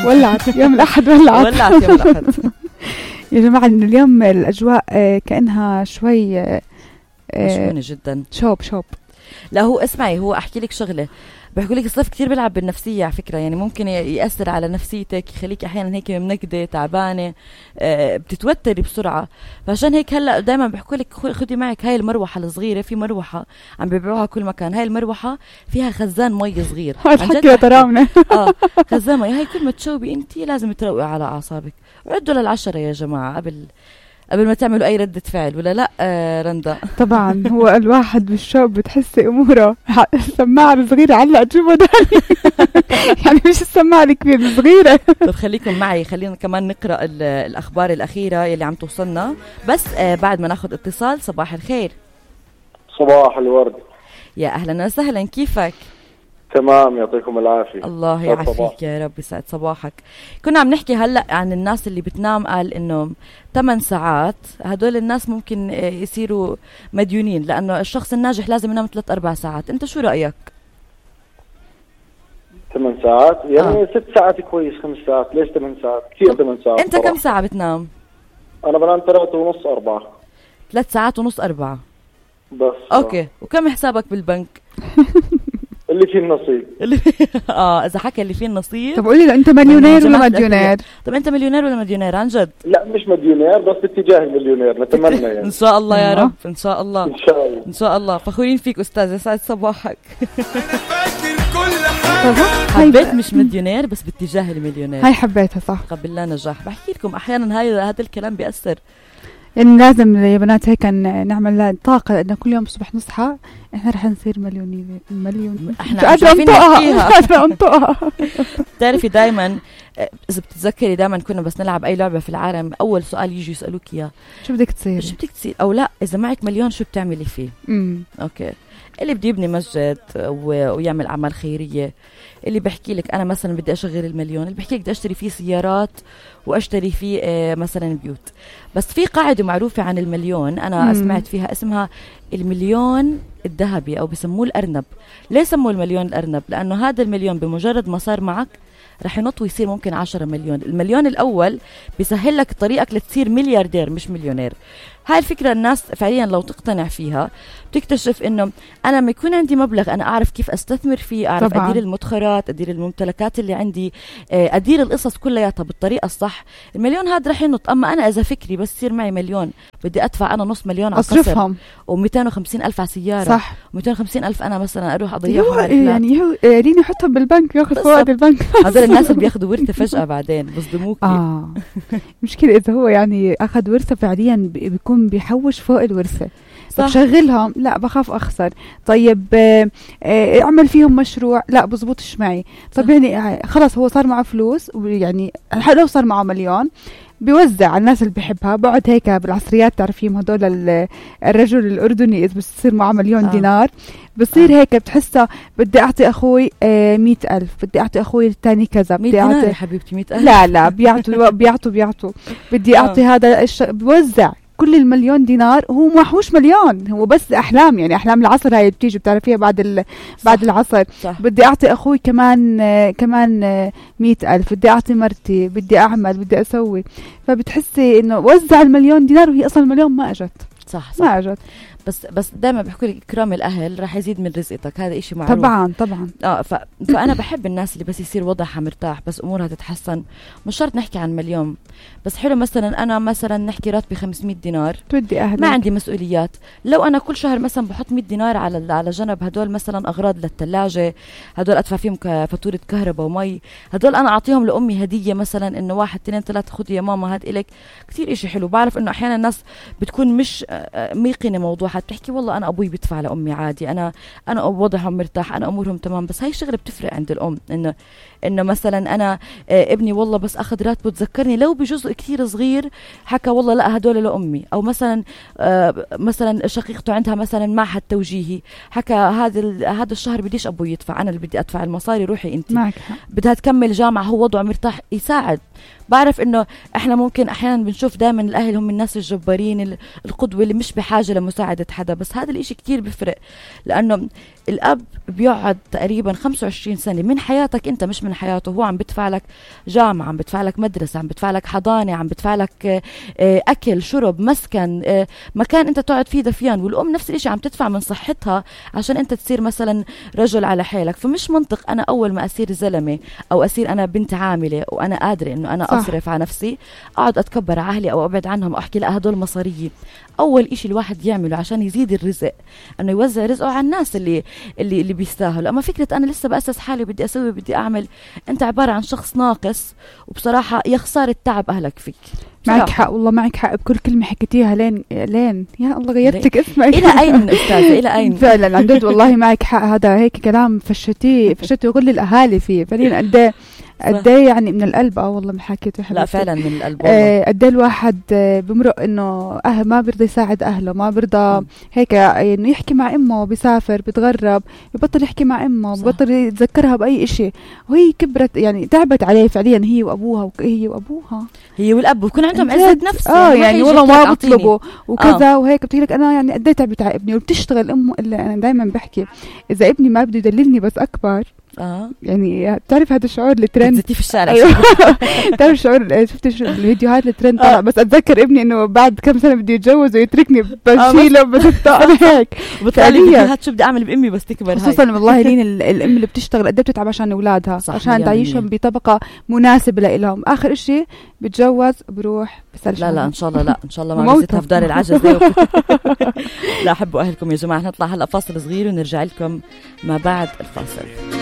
ولعت يوم الأحد، ولعت يوم الأحد. يا جماعة إنه اليوم الأجواء كأنها شوي مشحونة جدا. شوب لا هو اسمعي، هو أحكي لك شغلة، بحكوا لك الصيف كتير بيلعب بالنفسية على فكرة، يعني ممكن يأثر على نفسيتك، يخليك أحيانا هيك منكدة تعبانة، بتتوتري بسرعة. فعشان هيك هلأ دايما بحكوا لك خدي معك هاي المروحة الصغيرة، في مروحة عم بيبيعوها كل مكان، هاي المروحة فيها خزان مي صغير. حكي تراونا. خزان مي، هاي كل ما تشوبي انتي لازم تروقي على أعصابك. عدوا لل10 يا جماعة قبل ما تعملوا أي ردة فعل، ولا لا رندا؟ طبعا هو الواحد بالشوب بتحسي أموره. السماعة الصغيرة علق جوا داني. يعني مش السماعة الكبيرة، الصغيرة. طب خليكم معي، خلينا كمان نقرأ الأخبار الأخيرة يلي عم توصلنا، بس بعد ما ناخد اتصال. صباح الخير. صباح الورد. يا أهلا وسهلا، كيفك؟ تمام، يعطيكم العافية. الله يعافيك يا رب، يسعد صباحك. كنا عم نحكي هلأ عن الناس اللي بتنام قال إنه 8 ساعات، هدول الناس ممكن يصيروا مديونين، لأنه الشخص الناجح لازم ينام 3-4 ساعات. أنت شو رأيك؟ 8 ساعات يعني 6 ساعات كويس، 5 ساعات ليش 8 ساعات؟ كثير 8 ساعات. أنت كم ساعة بتنام؟ أنا بنام 3.5 4. 3 ساعات ونص 4 بس. أوكي. وكم حسابك بالبنك؟ اللي فيه النصيب. إذا حكى اللي فيه النصيب. طب قولي له أنت مليونير ولا مديونير؟ طب أنت مليونير ولا مديونير عن جد؟ لا مش مديونير، بس باتجاه المليونير نتمنى يعني. إن شاء الله يا رب، إن شاء الله. إن شاء الله. إن شاء الله. فخورين فيك أستاذ، يسعد صباحك. حبيت مش مليونير بس باتجاه المليونير. هاي حبيتها صح. قبل نجاح. بحكي لكم أحيانا هذا الكلام بيأثر. يعني لازم يا بنات هيك نعمل لها طاقة إنه كل يوم الصبح نصحى إحنا رح نصير مليون. إحنا قادرة أنطقها. تعرفي دايما إذا بتتذكري دايما كنا بس نلعب أي لعبة في العالم، أول سؤال يجي يسألوك إياه شو بدك تصير؟ أو لا، إذا معك مليون شو بتعملي فيه؟ أوكي. اللي بده يبني مسجد ويعمل أعمال خيرية، اللي بحكي لك أنا مثلا بدي أشغل المليون، اللي بحكي لك بدي أشتري فيه سيارات وأشتري فيه مثلا بيوت. بس في قاعدة معروفة عن المليون أنا سمعت فيها، اسمها المليون الذهبي أو بسموه الأرنب. ليه سموه المليون الأرنب؟ لأنه هذا المليون بمجرد ما صار معك رح ينط ويصير ممكن 10 مليون. المليون الأول بيسهل لك طريقك لتصير ملياردير مش مليونير. هاي الفكرة الناس فعليا لو تقتنع فيها بتكتشف انه انا ما يكون عندي مبلغ انا اعرف كيف استثمر فيه، اعرف طبعاً. ادير المدخرات، ادير الممتلكات اللي عندي، ادير القصص كلياتها بالطريقة الصح. المليون هذا رح ينط. اما انا اذا فكري بس يصير معي مليون بدي ادفع انا نص مليون على قصر و250,000 على سيارة، صح، و250,000 انا مثلا اروح اضيعها يعني هو ريني حطهم بالبنك ياخذ فوائد البنك. هذول الناس اللي بياخذوا ورثة فجأة بعدين بصدموك. مشكلة اذا هو يعني اخذ ورثة فعليا بيكون بيحوش فوق الورثة. طب شغلهم، لا بخاف أخسر. طيب اعمل فيهم مشروع، لا بزبطش معي. طب يعني خلاص هو صار معه فلوس، ويعني لو صار معه مليون بيوزع على الناس اللي بيحبها. بقعد هيك بالعصريات تعرفيهم هدول الرجل الأردني إذا بصير معه مليون دينار بصير هيك بتحسه بدي أعطي أخوي 100,000، بدي أعطي أخوي الثاني كذا، بدي أعطي حبيبتي 100,000. لا بيعطوا بدي أعطي هذا بوزع كل المليون دينار. هو محوش مليون، هو بس أحلام، يعني أحلام العصر هاي بتيجي بتعرفيها بعد العصر. صح. بدي أعطي أخوي كمان 100,000، بدي أعطي مرتي، بدي أعمل، بدي أسوي. فبتحسي إنه وزع المليون دينار وهي أصلا المليون ما أجت. صح. ما أجت. بس دائما بحكوا لك إكرام الأهل راح يزيد من رزقك، هذا إشي معروف. طبعا. فأنا بحب الناس اللي بس يصير وضعها مرتاح، بس أمورها تتحسن. مش شرط نحكي عن مليون، بس حلو مثلا أنا مثلا نحكي راتبي 500 دينار، تودي أهلك، ما عندي مسؤوليات. لو أنا كل شهر مثلا بحط 100 دينار على جنب، هدول مثلا أغراض للثلاجة، هدول أدفع فيهم فاتورة كهرباء ومي، هدول أنا أعطيهم لأمي هدية مثلا، إنه 1 2 3 خذي يا ماما هاد إلك. كتير إشي حلو. بعرف إنه أحيانا الناس بتكون مش ميقنة موضوع، بتحكي والله أنا أبوي بدفع لأمي عادي، أنا وضعهم مرتاح، أنا أمورهم تمام. بس هاي الشغلة بتفرق عند الأم، إنه مثلا أنا ابني والله بس أخذ راتبه تذكرني لو بجزء كتير صغير، حكى والله لا هدول لأمي. أو مثلا شقيقته عندها مثلا معهد توجيهي، حكى هذا الشهر بديش أبوي يدفع، أنا اللي بدي أدفع المصاري، روحي أنت. بدها تكمل جامعة، هو وضعه مرتاح، يساعد. بعرف إنه إحنا ممكن أحيانا بنشوف دائما الأهل هم الناس الجبارين، القدوة اللي مش بحاجة لمساعدة ساعدت حدا، بس هذا الاشي كتير بفرق، لأنه الأب بيقعد تقريبا 25 سنة من حياتك أنت، مش من حياته هو. عم بدفع لك جامعة، عم بدفع لك مدرسة، عم بدفع لك حضانة، عم بدفع لك أكل شرب مسكن، مكان أنت تقعد فيه دفيان. والأم نفس الاشي عم تدفع من صحتها عشان أنت تصير مثلا رجل على حالك. فمش منطق أنا أول ما أصير زلمة أو أصير أنا بنت عاملة وأنا قادرة إنه أنا أصرف على نفسي، أقعد أتكبر على أهلي أو أبعد عنهم وأحكي لا هدول مصارية. أول إشي الواحد يعمله عشان يزيد الرزق إنه يوزع رزقه على الناس اللي بيستاهلوا. أما فكرة أنا لسه بأسس حالي بدي أسوي بدي أعمل، أنت عبارة عن شخص ناقص. وبصراحة يا خسارة تعب أهلك فيك. معك حق والله، معك حق بكل كلمة حكيتيها. لين يا الله غيرتك اسمك. إلى أين أستاذة؟ إلى أين؟ فعلا عن جد والله معك حق. هذا هيك كلام فشتي كل الأهالي فيه فعليا. قد ايه يعني من القلب. والله ما حكيته لا فعلا من القلب والله. قد ايه الواحد بمرق انه ما بيرضى يساعد اهله، ما بيرضى هيك انه يحكي مع امه، بيسافر بيتغرب ببطل يحكي مع امه، ببطل يتذكرها باي إشي. وهي كبرت يعني تعبت عليه فعليا، هي وابوها هي والاب بكون عندهم عزة نفس. يعني والله ما بطلبوا وكذا وهيك. بتقول لك انا يعني قد ايه تعبت على ابني وبتشتغل امه. الا انا دائما بحكي اذا ابني ما بده يدللني بس اكبر. يعني بتعرف هذا الشعور الترند في الشارع. أيوة. تعرف الشعور، شفت الفيديوهات الترند طلع. بس اتذكر ابني انه بعد كم سنه بده يتجوز ويتركني بشيله بس هيك. وبتطلع فيديوهات شو بدي اعمل بامي بس تكبر. خصوصا والله لين الام اللي بتشتغل قد ايه بتتعب عشان اولادها، عشان تعيشهم بطبقه مناسبه لهم. اخر شيء بتجوز بروح بسال. لا ان شاء الله، لا ان شاء الله ما بزيتها في دار العجز. لا حبوا اهلكم يا جماعه. نطلع هلا فاصل صغير ونرجع لكم ما بعد الفاصل.